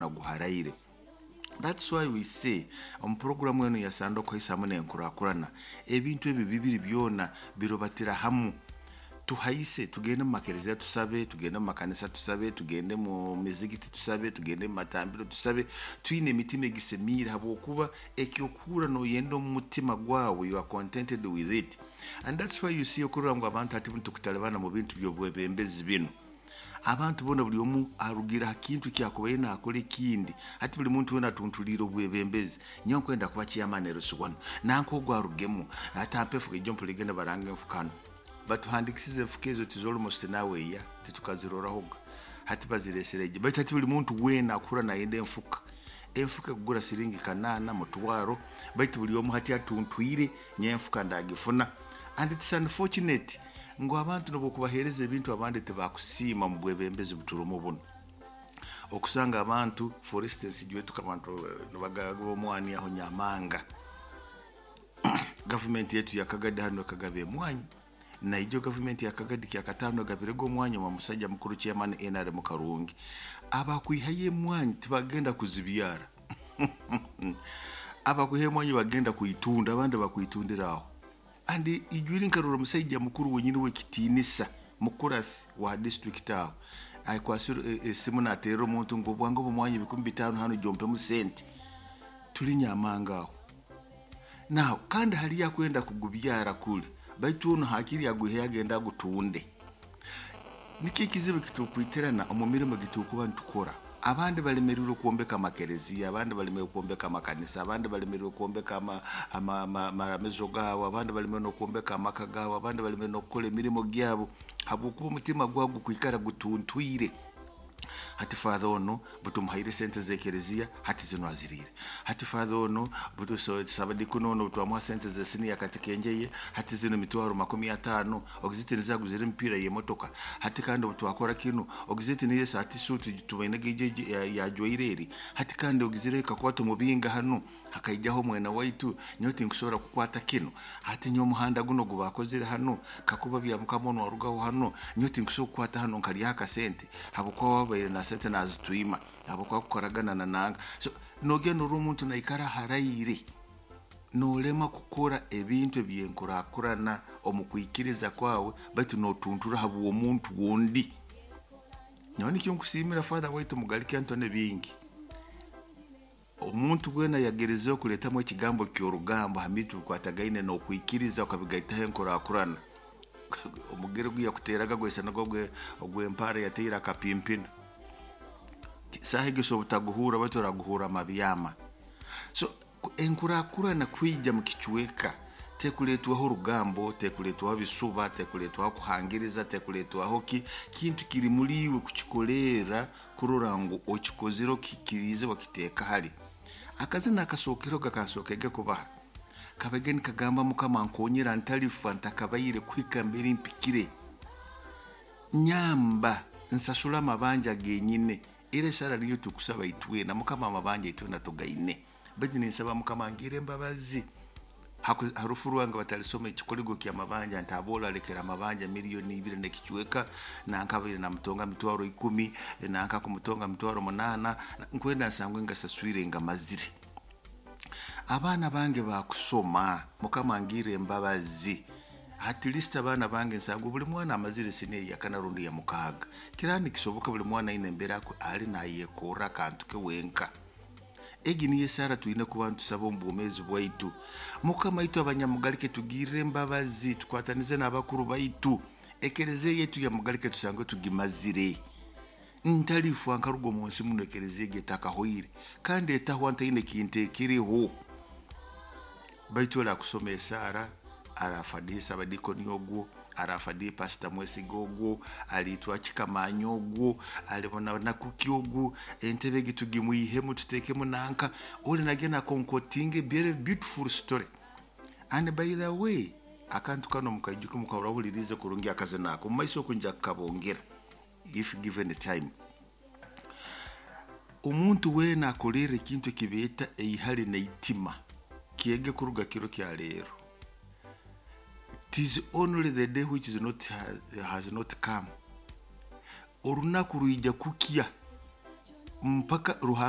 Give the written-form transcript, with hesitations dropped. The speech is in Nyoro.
Guharaire. That's why we say omu puroguramu enu yasanda okuhaisamu n'enkurakurana, ebintu ebi bibiri byona birobatira hamu. Tuhaise, tugende mu makereziya tusabe, tugende mu makanisa tusabe, tugende mu mizigiti tusabe, tugende mu matambiro tusabe, twine emitima egisemiire, habwokuba ekyokuhurra noyenda omu mutima gwawe, you are contented with it. And that's why you see okurora ngu abantu hati bunu tukutalibana mu bintu by'obwebembezi binu. Abantu boona buli omu arugira ha kintu kyakubaire naakora ekindi. Hati buli muntu weena atuntuliire obwebembezi. Nyowe nkwenda kuba chairman LC1, nanka ogu arugemu, atampe enfuka. Ijo mpulire nibaranga enfuka hanu. Batuhandikisize enfuka ezo, tizo almost nawe eya titukazirorahoga. Hati baziresere egi. Baitu hati buli muntu weena akuhurra nayenda enfuka. Enfuka ekugura siringi 800, mutwaro, baitu buli omu hati atuntwire, nyowe enfuka ndagifuna. And it's unfortunate ngu abantu nobwokubaheereza ebintu, abandi tibakusiima mu bwebembezi buturumu bunu. Okusanga abantu, for instance, ijwe abantu nibagaba omwani aho Nyamanga. Gavumenti yetu yakagadi hano ekagaba emwanyi. Naijo gavumenti yakagadi kyakataano egabirege omwanya wa musajja mukuru chairman NRM Karungi. Abakwihayo emwanyi tibagenda kuzibyara. Abakwiha emwanyi bagenda kuitunda, abandi bakuitundira aho. And ijwiri nkarora omusaija mukuru wenyini w'ekitiinisa, mukurasi wa district aho, akwasire esimu nateerera omuntu ngu obwange obumwanyi 5000 hanu, jompemu sente. Tuli Nyamanga aho. Now kandi haliyo akwenda kugubyara kuli, baitu ono hakiri agwiheyo agenda agutunde. Nikyo ekizibu kitukwitirana omu mirimo gitukuba nitukora. Abandi balemereirwe kwombeka amakereziya, abandi balemereirwe kwombeka amakanisa, abandi balemereirwe kwombeka amaramizo gaabo, abandi balemereirwe n'okwombeka amaka gaabo, abandi balemereirwe n'okukora emirimo gyabo, habwokuba omutima gwabo gukwikara gutuntwire. Hati father ono butumuhaire sente z'ekereziya, hati zino aziriire. Hati father ono sabadikuni ono butwamuha sente z'esiniya katikenjeye, hati zino mitwaro 50 ogiziti nizaguzire emipiira y'emotoka. Hati kandi obutwakora kinu, ogiziti niyo hati suuti tubaine yajwaire eri. Hati kandi ogizire kakuba tumubinga hanu hakaijaho mwena waitu, nyowe tinkusobora kukwata kinu. Hati nyowe omuhanda guno gubakozire hanu, kakuba bya mukama ono arugaho hanu, nyowe tinkusobora kukwata hanu nkalyaho akasente, habwokuba wabaire na sente nazitwima, habwokuba kukoragana na nanga. So nogenda orora omuntu naikara haraire, nolema kukora ebintu ebyenkurakurana omu kwikiriza kwawe, baitu notuntura habw'omuntu wundi. Nyowe nikyo nkusiimira father waitu Mugalike Antony bingi. Omuntu weena yagerezeho kuleetamu ekigambo ky'orugambo ha bintu bikwatagaine n'okwikiriza okabigaitaho enkurakurana, omugere ogu yakuteraga gwaisanaga ogw'empaara yateire akapimpina. Saaha egi osobola obutaguhurra, baitu oraguhurra amabyama. So enkurakurana kwija mu kicweka tekuleetwaho orugambo, tekuleetwaho bisuba, tekuleetwaho kuhangiriza, tekuleetwaho ki kintu kiri muri iwe kukikolerra kurora ngu okikozire, okikiriize, wakiteeka hali. Akazina akasookereho gakansookege kubaha kabage nikagamba, "Mukama nkonyera ntalifa ntakabaire kuhika mbere mpikire, nyamba nsasule amabanja genyine." Era esara niyo tukusaba itwena, Mukama amabanja itwena tugaine, baitu ninsaba Mukama ngire embabazi harufu rwange batalisoma ekikoligo kyamabanja nti abola alekera amabanja 2 miliyoni nekicweka, nankabaire namutonga 100,000, nanka kumutonga 800,000. Nkwenda nsangwe ngasaswire ngamazire. Abaana bange bakusoma, Mukama ngire embabazi, at least abaana bange nsangwe buli mwana amazire siniya yakana rundi ya mukaaga. Kiraba nikisoboka buli mwana aine embeera ali nayekorra akantu ke wenka. Egi niyo esaara twine kuba nitusaba omu bwomeezi bwaitu. Mukama itwe abanyamugalike tugirire embabazi, tukwatanize n'abakuru baitu, ekereziya yaitu ya Mugalike tusange tugimazire. Ntalifa nkaruga omu nsi muno ekereziya egi etakahoire, kandi etahwa ntaine kintu ekiriho. Baitu orakusoma esaara, arafadihi sabadikoni ogwo, arafadihi pasita Mwesiga ogwo, alitwa kikamanya ogwo, alibona nakuki ogwo, entebe egi tugimwihemu tutekemu nanka oli nagenda concocting a very beautiful story. And by the way, akantu kano mukaijuke, mukahurahulirize kurungi akazina ako mumaiso oku nja kukabongera if given time. Omuntu weena akolerra ekintu ekibeeta eihali neitima kyege kuruga kiro kya leero. It is only the day which is not, has not come. Orunaku rwija kukya mpaka Ruhanga.